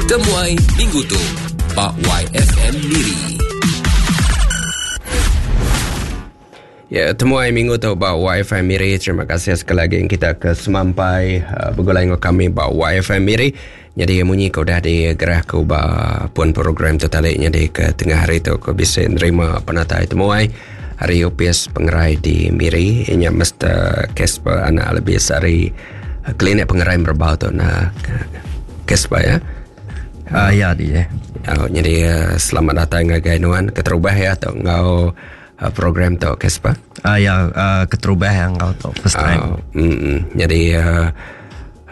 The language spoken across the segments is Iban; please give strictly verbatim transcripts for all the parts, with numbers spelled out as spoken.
Temuai minggu tu ba Y F M Miri. Ya, temuai minggu tu ba Y F M Miri. Terima kasih sekali lagi kita ke semampai uh, begulai dengan kami ba Y F M Miri. Jadi munyi ke udah digerah ke ba pun program tu tadi, jadi ke tengah hari tu aku bisa nerima penatai temuai hari Opis Pengerai di Miri. Inya Mister Casper anak lebih sari uh, klinik pengerai Merbau tu nah Casper ya. Uh, ya dia. Uh, jadi uh, selamat datang ngagai nuan keterubah ya tu ngau uh, program tu, Casper. Ah uh, ya, uh, keterubah yang kau tu first time. Uh, mm, mm. Jadi uh,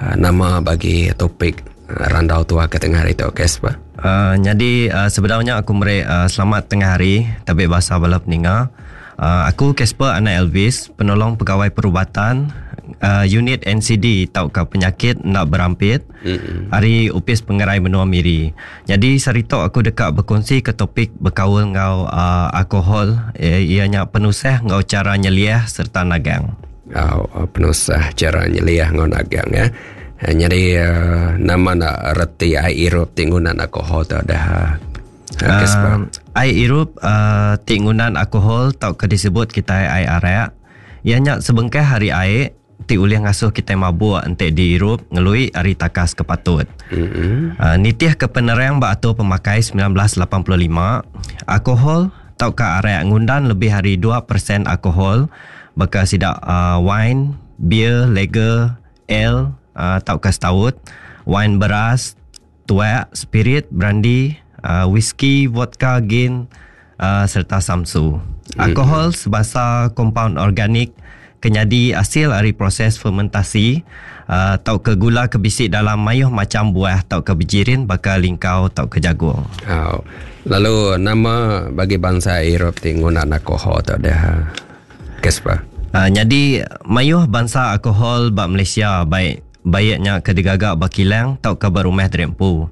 uh, nama bagi topik uh, randau tua ke tengah hari tu, Casper? Uh, jadi uh, sebenarnya aku meri uh, selamat tengah hari tapi bahasa bala peninga. Uh, aku Casper anak Elvis, penolong pegawai perubatan uh, unit N C D tau ke penyakit nak berampit mm-hmm. hari Upis Pengerai Menua Miri. Jadi sarito aku dekat berkongsi ke topik berkaul ngau uh, alkohol, eh, ianya penusah ngau cara nyeliah serta nagang. Oh, penusah cara nyeliah ngau nagang ya. Jadi uh, nama nak reti air irup tinggunan alkohol tu dah? Uh, air irup uh, tinggunan alkohol tau ke disebut kita air arak. Ianya sebengkah hari air ti ulih ngasuh kita mabuk entek diirup ngelui hari takas kepatut. Mm-hmm. Uh, nitih ke penerang ba atur pemakai seribu semilan ratus lapan puluh lima, alkohol tau ke arak ngundan lebih hari dua peratus alkohol baka sidak uh, wine, beer, lager, ale uh, tau ke stout, wine beras, tuak, spirit, brandy, uh, whisky, vodka, gin uh, serta samsu. Alkohol mm. sebasa kompaun organik kenyadi hasil dari proses fermentasi uh, atau ke gula ke bisik dalam mayuh macam buah atau ke bijirin bakal lingkau atau ke jagung. Oh. Lalu nama bagi bangsa Europe tinggunan alkohol tu ada, Casper? Uh, jadi mayuh bangsa alkohol bak Malaysia, baik baiknya ke digagak bakilang atau ke berumah derempu.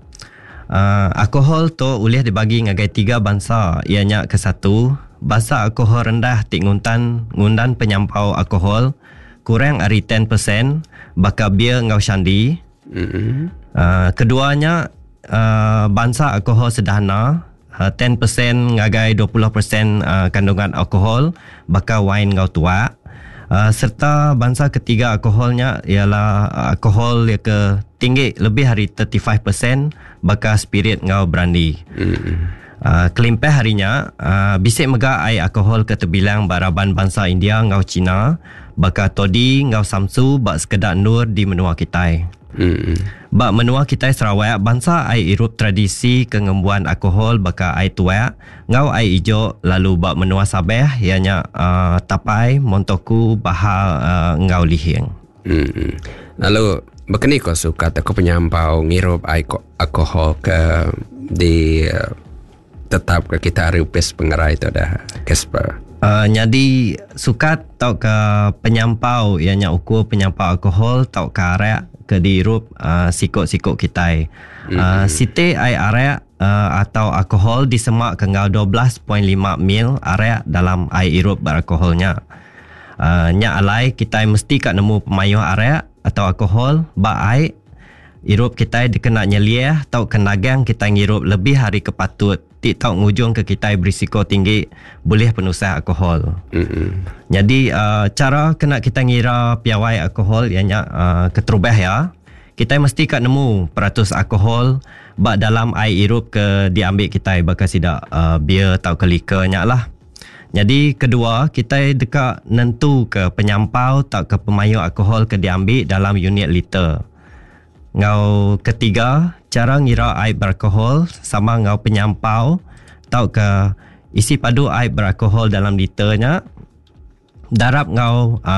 Uh, alkohol tu boleh dibagi ngagai tiga bangsa, ianya ke satu bangsa alkohol rendah ti nguntan ngundan penyampau alkohol kurang ari sepuluh peratus baka bir ngau shandy. Mm-hmm. Uh, keduanya uh, bangsa alkohol sederhana uh, sepuluh peratus ngagai dua puluh peratus uh, kandungan alkohol baka wine ngau tuak. Uh, serta bangsa ketiga alkoholnya ialah alkohol yang ke tinggi lebih hari tiga puluh lima peratus baka spirit ngau brandy. Mm-hmm. Uh, kelimpah harinya uh, bisik mega air alkohol ke terbilang baraban bangsa India ngau Cina baka todi ngau samsu bak sekedak nur di menua kitai. Mm-hmm. Bak menua kitai Sarawak, bangsa air irup tradisi kengembuan alkohol baka air tuak ngau air ijo, lalu bak menua Sabah ianya uh, tapai, montoku, bahal uh, ngau lihing. Mm-hmm. Lalu begini kau suka aku penyampau ngirup air alkohol ke di uh, tetap ke kita hari upis pengerai itu dah, Casper? Uh, jadi sukat tau ke penyampau ianya ukur penyampau alkohol tau ke arak ke diirup uh, sikok-sikok kitai. Mm-hmm. Uh, siti air arak uh, atau alkohol disemak ke ngau dua belas perpuluhan lima mil arak dalam air irup beralkoholnya. Uh, nyak alai kita mesti kat nemu pemayuh arak atau alkohol ba air irup kita dikena nyeliah atau kenagang kita ngirup lebih hari kepatut ti tau ngujung ke kita berisiko tinggi boleh penusah alkohol. Mm-hmm. Jadi uh, cara kena kita ngira piawai alkohol ianya uh, keterubah ya. Kita mesti kat nemu peratus alkohol bak dalam air irup ke diambil kita bakal sidak uh, bir atau ke liquor nya lah. Jadi kedua, kita dekat nentu ke penyampau tak ke pemayu alkohol ke diambil dalam unit liter. Ngau ketiga, cara ngira air beralkohol sama ngau penyampau atau ke isi padu air beralkohol dalam liternya darab ngau uh,